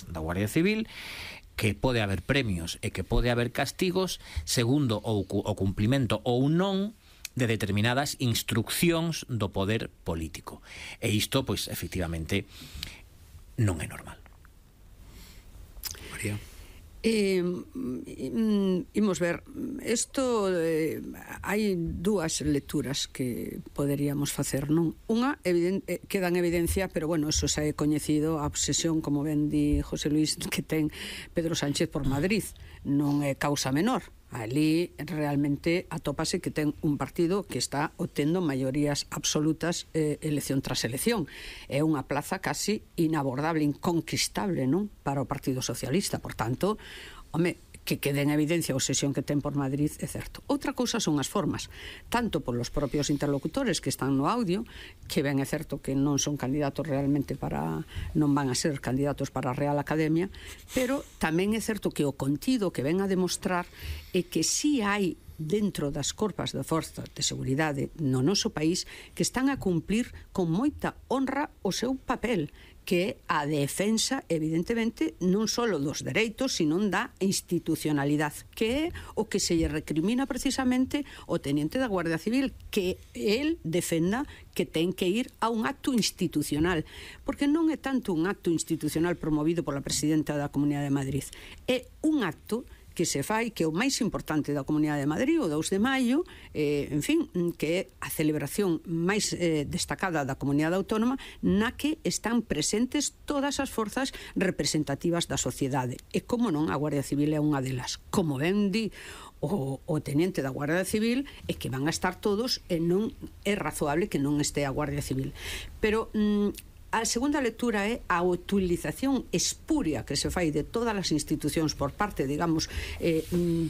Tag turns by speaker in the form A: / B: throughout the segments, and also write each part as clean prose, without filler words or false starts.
A: formas da Guardia Civil, que pode haber premios e que pode haber castigos segundo o cumplimento ou non de determinadas instruccións do poder político. E isto, pois, efectivamente, non é normal.
B: María.
C: Imos ver, isto hai dúas lecturas que poderíamos facer, non? Unha queda en evidencia, pero bueno, eso xa é coñecido, a obsesión, como ben di José Luis, que ten Pedro Sánchez por Madrid, non é causa menor. Ali realmente atópase que ten un partido que está obtendo maiorías absolutas elección tras elección. É unha plaza casi inabordable, inconquistable, non? Para o Partido Socialista. Por tanto, home, que quede en evidencia a obsesión que ten por Madrid é certo. Outra cousa son as formas, tanto por los propios interlocutores que están no audio, que ben é certo que non son candidatos realmente non van a ser candidatos para a Real Academia, pero tamén é certo que o contido que ven a demostrar é que si hai dentro das corpas de forzas de seguridade no noso país que están a cumplir con moita honra o seu papel, que é a defensa, evidentemente, non só dos dereitos, sino da institucionalidade, que é o que se lle recrimina precisamente o teniente da Guardia Civil, que el defenda que ten que ir a un acto institucional, porque non é tanto un acto institucional promovido pola presidenta da Comunidade de Madrid, é un acto que se fai, que é o máis importante da Comunidade de Madrid, o 2 de maio, en fin, que é a celebración máis destacada da Comunidade Autónoma, na que están presentes todas as forzas representativas da sociedade. E como non, a Guardia Civil é unha delas. Como ben di o teniente da Guardia Civil, é que van a estar todos e non é razoable que non este a Guardia Civil. Pero a segunda lectura é a utilización espuria que se fai de todas as institucións por parte, digamos,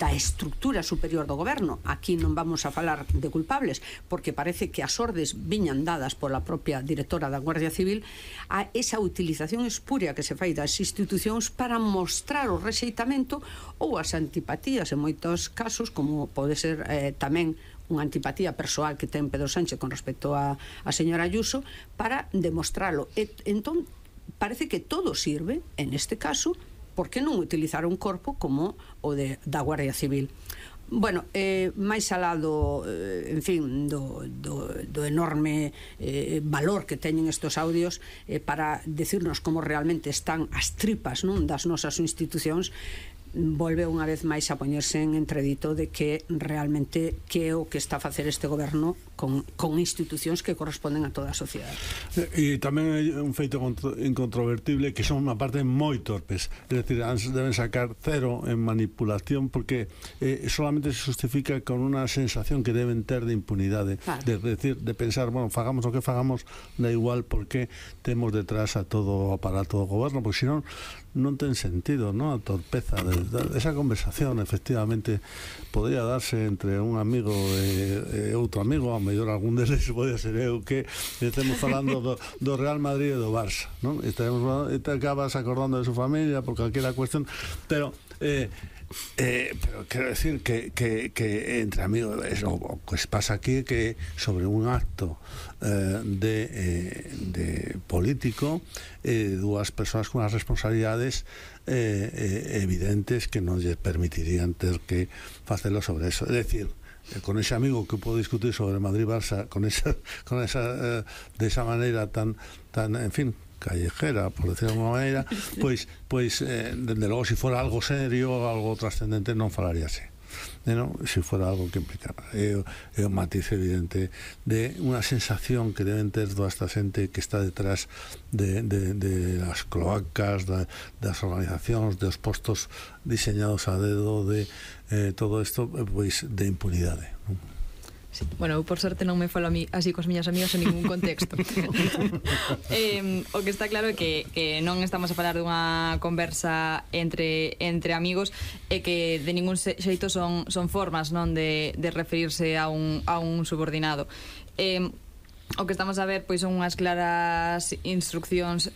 C: da estructura superior do goberno. Aquí non vamos a falar de culpables, porque parece que as ordes viñan dadas pola propia directora da Guardia Civil, a esa utilización espuria que se fai das institucións para mostrar o rexeitamento ou as antipatías en moitos casos, como pode ser tamén unha antipatía persoal que ten Pedro Sánchez con respecto a señora Ayuso, para demostralo. Entón, parece que todo sirve, en este caso, por que non utilizar un corpo como o da Guardia Civil? Bueno, máis alá en fin, do enorme valor que teñen estos audios para decirnos como realmente están as tripas, non, das nosas institucións, volve unha vez máis a poñerse en entredito de que realmente que é o que está a facer este goberno con institucións que corresponden a toda a sociedade.
D: E tamén é un feito incontrovertible que son unha parte moi torpes, é dicir, deben sacar cero en manipulación, porque solamente se justifica con unha sensación que deben ter de impunidade, claro. de pensar, bueno, fagamos o que fagamos, da igual porque temos detrás a todo o aparato do goberno, porque senón non ten sentido, non? A torpeza esa conversación, efectivamente, podría darse entre un amigo e outro amigo, a mellor algún deles podría ser eu, que estemos falando do Real Madrid e do Barça, non? E acabas acordando de su familia por calquera cuestión, pero quero decir que entre amigos o que se pasa aquí, que sobre un acto de político, dúas persoas con as responsabilidades evidentes que non lle permitirían ter que facelo sobre eso. É dicir, con ese amigo que puedo discutir sobre Madrid-Barça de esa maneira tan en fin, callejera, por decirlo de alguna maneira, pois dende logo, se fora algo serio, algo trascendente, non falaríase, non? Se fora algo que implicara é un matiz evidente de unha sensación que deben ter toda esta xente que está detrás de las cloacas, das organizacións, dos postos diseñados a dedo, de todo isto, pois, de impunidade, non?
E: Sí. Bueno, eu por sorte non me falo a mí así cos miñas amigas en ningún contexto. O que está claro é que non estamos a falar dunha conversa entre amigos, e que de ningún xeito son formas, non, de referirse a un subordinado. O que estamos a ver, pois, son unhas claras instruccións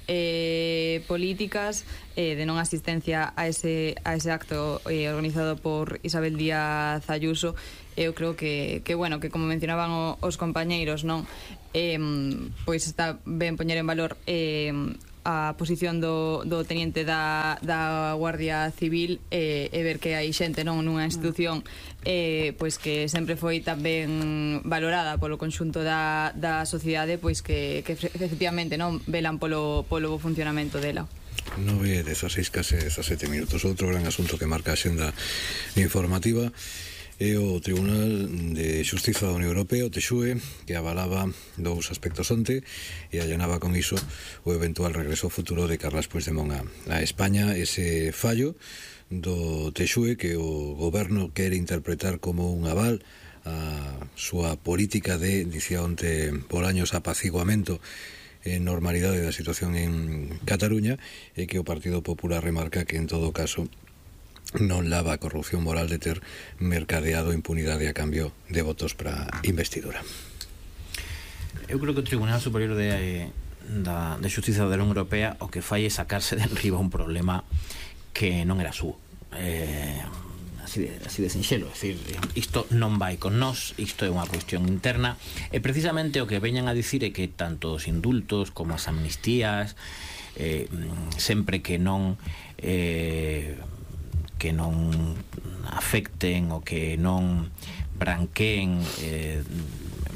E: políticas de non asistencia a ese acto organizado por Isabel Díaz Ayuso. Eu creo que bueno, que como mencionaban os compañeiros, non, pois está ben poñer en valor a posición do teniente da Guardia Civil e ver que hai xente nunha institución pois que sempre foi tamén valorada polo conxunto da sociedade, pois que efectivamente non velan polo bo funcionamento dela.
B: 9:16, case 17 minutos. Outro gran asunto que marca a xenda informativa é o Tribunal de Xustiza da Unión Europea, o TXUE, que avalaba dous aspectos onte e allanaba con iso o eventual regreso futuro de Carles Puigdemont a España. Ese fallo do TXUE que o goberno quere interpretar como un aval a súa política de, dicía onte Bolaños, apaciguamento e normalidade da situación en Cataluña, e que o Partido Popular remarca que en todo caso non lava a corrupción moral de ter mercadeado impunidade a cambio de votos para investidura.
A: Eu creo que o Tribunal Superior de Xustiza da Unión Europea o que fai é sacarse de enriba un problema que non era súo, así de sinxelo. É dicir, isto non vai con nós, isto é unha cuestión interna, e precisamente o que veñan a dicir é que tanto os indultos como as amnistías, sempre que non afecten ou que non branqueen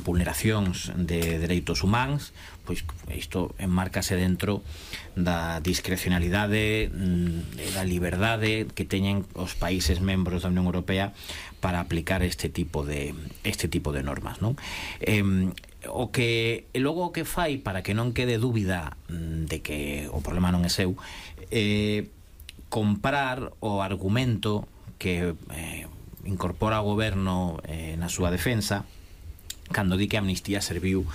A: vulneracións de dereitos humanos, pois isto enmárcase dentro da discrecionalidade e da liberdade que teñen os países membros da Unión Europea para aplicar este tipo de normas, non? O que logo o que fai, para que non quede dúbida de que o problema non é seu, comprar o argumento que incorpora o goberno na súa defensa cando di que a amnistía serviu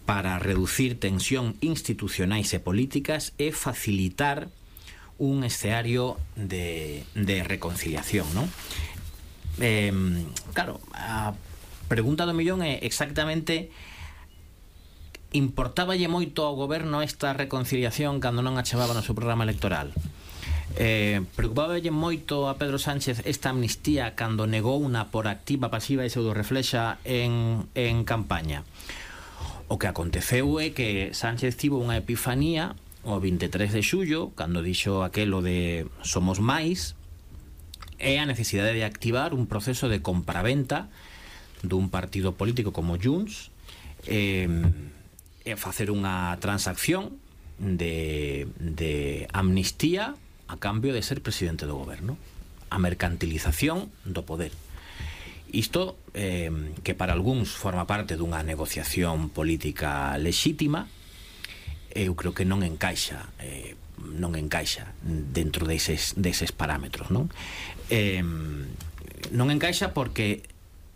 A: para reducir tensión institucionais e políticas e facilitar un escenario de reconciliación, non? Claro, a pregunta do millón é exactamente: importáballe moito ao goberno esta reconciliación cando non a chamaba no seu programa electoral? Preocupáballe moito a Pedro Sánchez esta amnistía cando negou unha por activa, pasiva e pseudo reflexa en campaña? O que aconteceu é que Sánchez tivo unha epifanía o 23 de xullo, cando dixo aquelo de somos máis, e a necesidade de activar un proceso de compraventa dun partido político como Junts, e facer unha transacción de amnistía a cambio de ser presidente do goberno, a mercantilización do poder. Isto, que para algúns forma parte dunha negociación política lexítima, eu creo que non encaixa dentro deses parámetros, non? Non encaixa porque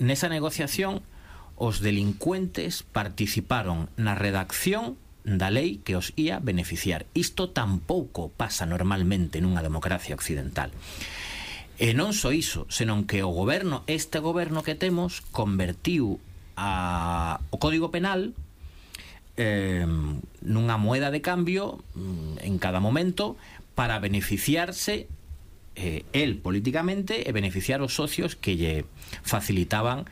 A: nesa negociación os delincuentes participaron na redacción da lei que os ia beneficiar. Isto tampouco pasa normalmente nunha democracia occidental. E non só iso, senón que este goberno que temos, convertiu o Código Penal nunha moeda de cambio en cada momento para beneficiarse el políticamente e beneficiar os socios que lle facilitaban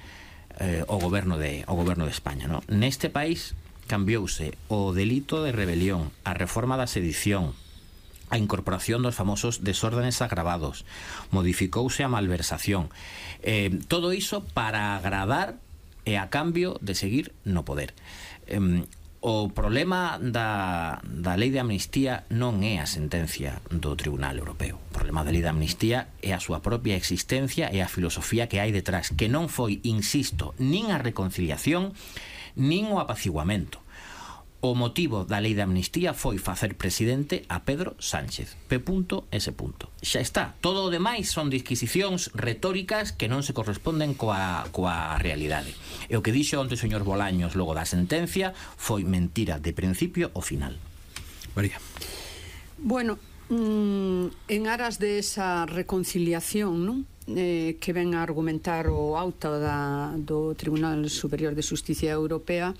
A: o goberno de España, non? Neste país cambiouse o delito de rebelión, a reforma da sedición, a incorporación dos famosos desórdenes agravados, modificouse a malversación, todo iso para agradar e a cambio de seguir no poder. O problema da lei de amnistía non é a sentencia do Tribunal Europeo. O problema da lei de amnistía é a súa propia existencia e a filosofía que hai detrás, que non foi, insisto, nin a reconciliación nin o apaciguamento. O motivo da lei de amnistía foi facer presidente a Pedro Sánchez. P.S. Xa está. Todo o demais son disquisicións retóricas que non se corresponden coa realidade. E o que dixo onte o señor Bolaños logo da sentencia foi mentira de principio ao final.
B: María.
C: Bueno, en aras de esa reconciliación, non? Que ven a argumentar o auto do Tribunal Superior de Xustiza Europea,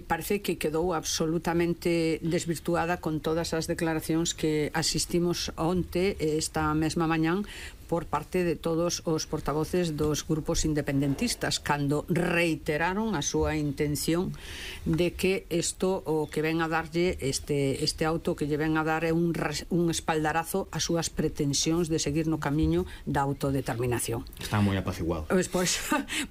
C: parece que quedou absolutamente desvirtuada con todas as declaracións que asistimos onte, esta mesma mañán, por parte de todos os portavoces dos grupos independentistas cando reiteraron a súa intención de que isto o que ven a darlle este auto que lle ven a dar é un espaldarazo ás súas pretensións de seguir no camiño da autodeterminación.
A: Está moi apaciguado.
C: Pues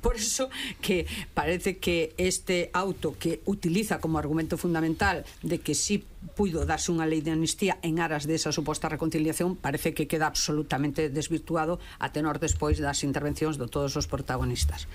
C: por eso que parece que este auto que utiliza como argumento fundamental de que sí puido darse unha lei de amnistía en aras desa suposta reconciliación, parece que queda absolutamente desvirtuado a tenor despois das intervencións de todos os protagonistas.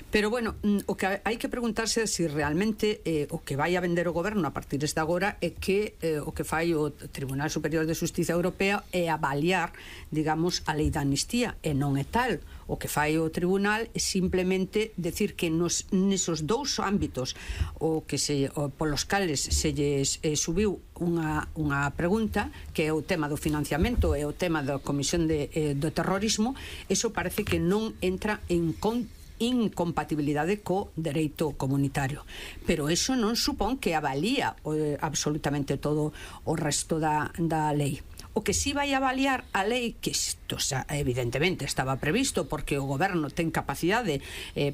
C: Pero bueno, o que hai que preguntarse é se realmente o que vai a vender o goberno a partir de agora é que o que fai o Tribunal Superior de Xustiza Europea é avaliar, digamos, a lei de amnistía, e non é tal. O que fai o tribunal é simplemente decir que nesos dous ámbitos polos cales se lles subiu unha pregunta, que é o tema do financiamento e o tema da comisión do terrorismo, eso parece que non entra en incompatibilidade co dereito comunitario, pero eso non supón que avalía absolutamente todo o resto da lei. O que sí vai avaliar a lei, que isto evidentemente estaba previsto porque o goberno ten capacidade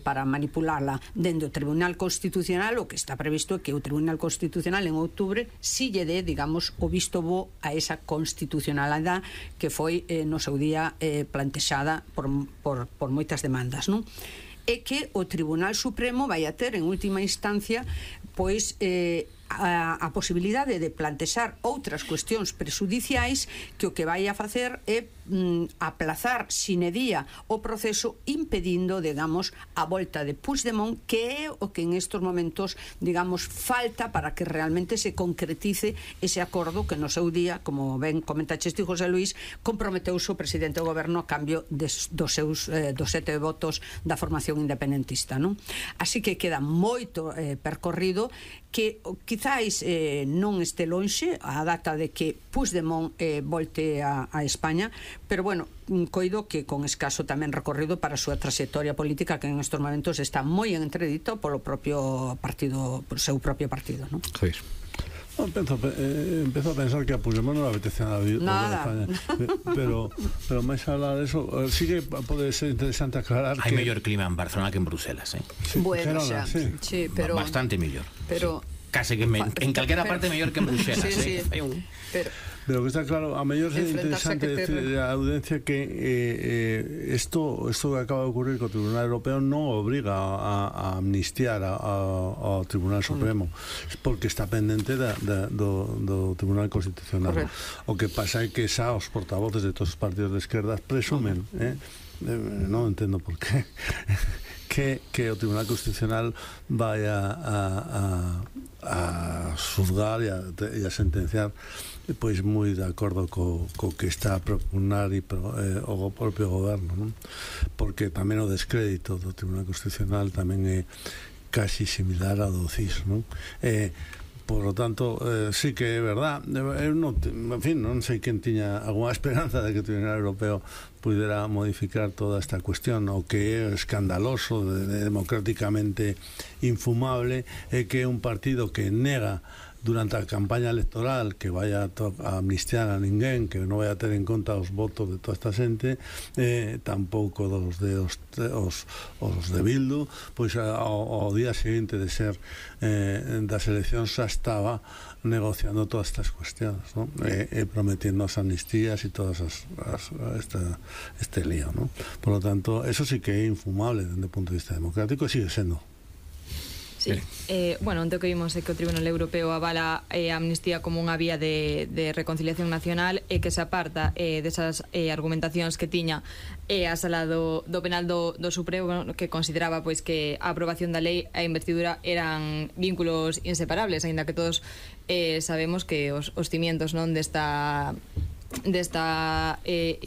C: para manipularla dentro do Tribunal Constitucional, o que está previsto é que o Tribunal Constitucional en outubro si lle dé, digamos, o visto bo a esa constitucionalidade que foi no seu día plantexada por moitas demandas, non? É que o Tribunal Supremo vai a ter en última instancia pois a posibilidade de plantexar outras cuestións prexudiciais que o que vai a facer é aplazar sine día o proceso, impedindo, digamos, a volta de Puigdemont, que é o que en estos momentos, digamos, falta para que realmente se concretice ese acordo que no seu día, como ben comentaches ti, José Luis, comprometeuse o presidente do goberno a cambio dos 7 votos da formación independentista, non? Así que queda moito percorrido, que quizáis non este lonxe a data de que Puigdemont volte a España, pero bueno, coido que con escaso tamén recorrido para a súa trayectoria política, que en estos momentos está moi en entredito polo propio partido, por seu propio partido, non?
B: Javier.
D: Empiezo a pensar que a Puigdemont non le apetece nada España, pero máis alá de eso, sí que pode ser interesante aclarar
A: hai mellor clima en Barcelona que en Bruselas,
D: Sí,
C: bueno, xa, sí, pero
A: bastante mellor,
C: pero
A: case que en calquera parte mellor que en Bruselas,
C: sí.
D: Pero que está claro, a mellor é interesante decir a audiencia que isto que acaba de ocurrir co Tribunal Europeo non obriga a amnistiar ao Tribunal Supremo, porque está pendente do Tribunal Constitucional. Correcto. O que pasa é que xa os portavoces de todos os partidos de esquerdas presumen, non entendo por qué, que o Tribunal Constitucional vai a xulgar e a sentenciar pois moi de acordo co que está a propugnar o propio goberno, non? Porque tamén o descrédito do Tribunal Constitucional tamén é casi similar ao do CIS, non? Por lo tanto, sí que é verdad. Eu non sei quen tiña alguna esperanza de que o Tribunal Europeo pudera modificar toda esta cuestión. O que é escandaloso, democráticamente infumable, é que un partido que nega durante a campaña electoral que vaya a amnistiar a ninguén, que non vai a ter en conta os votos de toda esta xente, tampouco os de Bildu, pois ao día seguinte de ser das eleccións xa estaba negociando todas estas cuestións, ¿no? Prometiendo as amnistías e todas este lío, ¿no? Por lo tanto, eso sí que é infumable desde o punto de vista democrático e sigue sendo.
E: Sí. Bueno, onde o que vimos é que o Tribunal Europeo avala a amnistía como unha vía de reconciliación nacional e que se aparta desas argumentacións que tiña a sala do penal do Supremo, que consideraba pois que a aprobación da lei e a investidura eran vínculos inseparables, aínda que todos sabemos que os cimientos non desta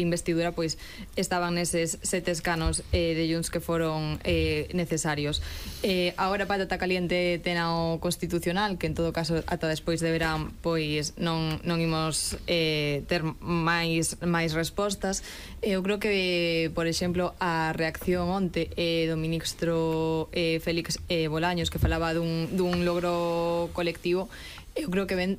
E: investidura pois estaban neses 7 escanos de Junts que foron necesarios. Agora patata caliente ten ao Constitucional, que en todo caso ata despois de verán pois non imos ter máis respostas. Eu creo que, por exemplo, a reacción onte do ministro Félix Bolaños, que falaba dun logro colectivo, Eu creo que ven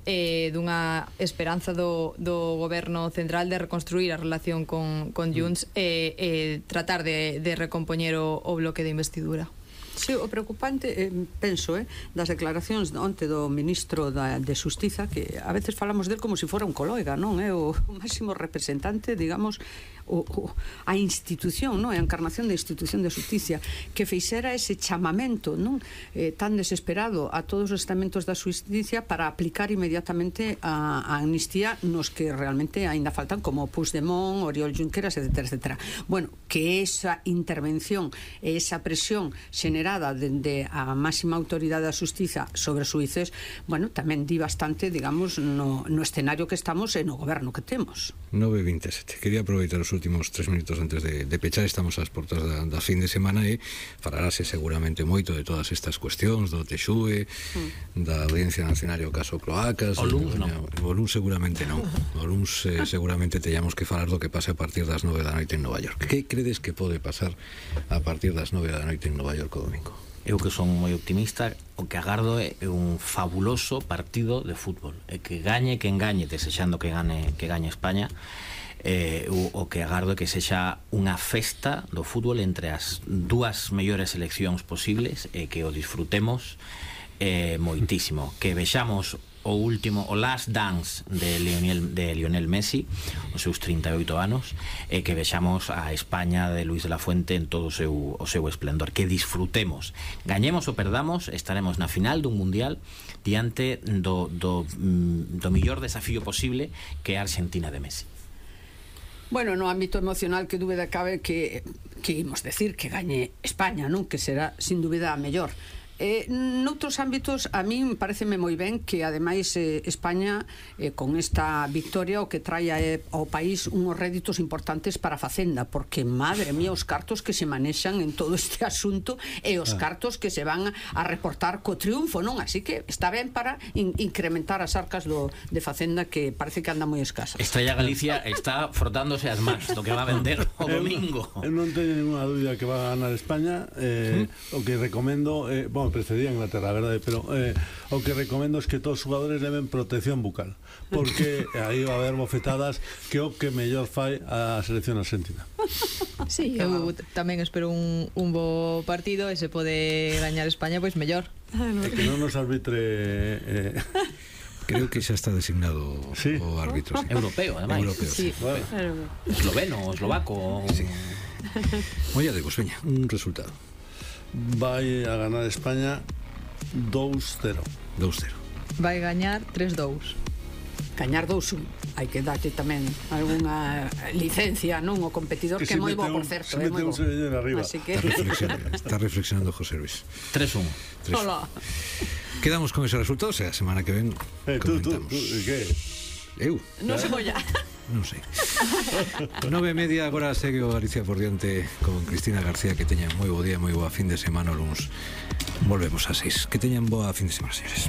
E: dunha esperanza do goberno central de reconstruir a relación con Junts e tratar de recompoñer o bloque de investidura.
C: Sí, o preocupante, penso, das declaracións onte do ministro de Xustiza, que a veces falamos del como se fora un colega, non? É o máximo representante, digamos, a institución, non? A encarnación da institución de Xusticia, que fixera ese chamamento, non? Tan desesperado a todos os estamentos da Xusticia para aplicar inmediatamente a amnistía nos que realmente aínda faltan, como Puigdemont, Oriol Junqueras, etc. Bueno, que esa intervención e esa presión generada dende a máxima autoridade da Xustiza sobre os xuíces, bueno, tamén di bastante, digamos, no escenario que estamos e no goberno que temos.
B: 9:27. Quería aproveitar os últimos 3 minutos antes de pechar. Estamos ás portas da fin de semana e falarase seguramente moito de todas estas cuestións do TXUE, da Audiencia Nacional e o caso Cloacas.
A: O LUNS non.
B: O LUNS seguramente non. O LUNS seguramente teñamos que falar do que pase a partir das 9 da noite en Nova York. Que credes que pode pasar a partir das 9 da noite en Nova York o domingo?
A: Eu que son moi optimista, o que agardo é un fabuloso partido de fútbol, e que gañe quen gañe, desexando que gañe España. O que agardo é que sexa unha festa do fútbol entre as dúas mellores seleccións posibles e que o disfrutemos moitísimo, que vexamos o last dance de Lionel Messi, os seus 38 anos, e que vexamos a España de Luis de la Fuente en todo o seu esplendor, que disfrutemos, gañemos ou perdamos, estaremos na final dun mundial diante do mellor desafío posible, que é a Argentina de Messi.
C: Bueno, no ámbito emocional, que dúbida cabe que imos decir que gañe España, non? Que será, sin dúbida, a mellor. Noutros ámbitos, a min pareceme moi ben que ademais España con esta victoria o que traia ao país unhos réditos importantes para a Facenda, porque madre mía os cartos que se manexan en todo este asunto e os cartos que se van a reportar co triunfo, non? Así que está ben para incrementar as arcas de Facenda, que parece que anda moi escasa.
A: Estrella Galicia está frotándose as mans do que va a vender o domingo.
D: Eu non teño ninguna dúbida que va a ganar España. O que recomendo, precedía Inglaterra, verdade, pero o que recomendo es que todos os jugadores leven protección bucal, porque aí va a haber bofetadas que o que mellor fai a selección argentina.
E: Sí, eu tamén espero un bo partido, e se pode gañar España, pois mellor.
D: E que non nos arbitre...
B: Creo que xa está designado o árbitro. Sí.
A: Europeo, ademais.
B: Europeo, sí.
D: Bueno.
A: Esloveno, eslovaco.
B: Sí. Molla de vos, veña, un resultado.
D: Vai a ganar España 2-0.
B: 2-0.
E: Vai gañar 3-2.
C: Gañar 2-1. Hai que darte tamén algunha licencia, non? O competidor, que é moi bo, por certo.
D: Se mete un señor arriba.
C: Así que...
B: Está reflexionando José Luis.
A: 3-1.
C: Hola.
B: Quedamos con ese resultado, o sea, a semana que ven comentamos.
D: Tú, que?
B: Eu?
C: Non se molla.
B: Non sei. 9:30, agora segue o Galicia por diante con Cristina García. Que teñan moi bo día, moi boa fin de semana o luns. Volvemos a 6. Que teñan boa fin de semana, señores.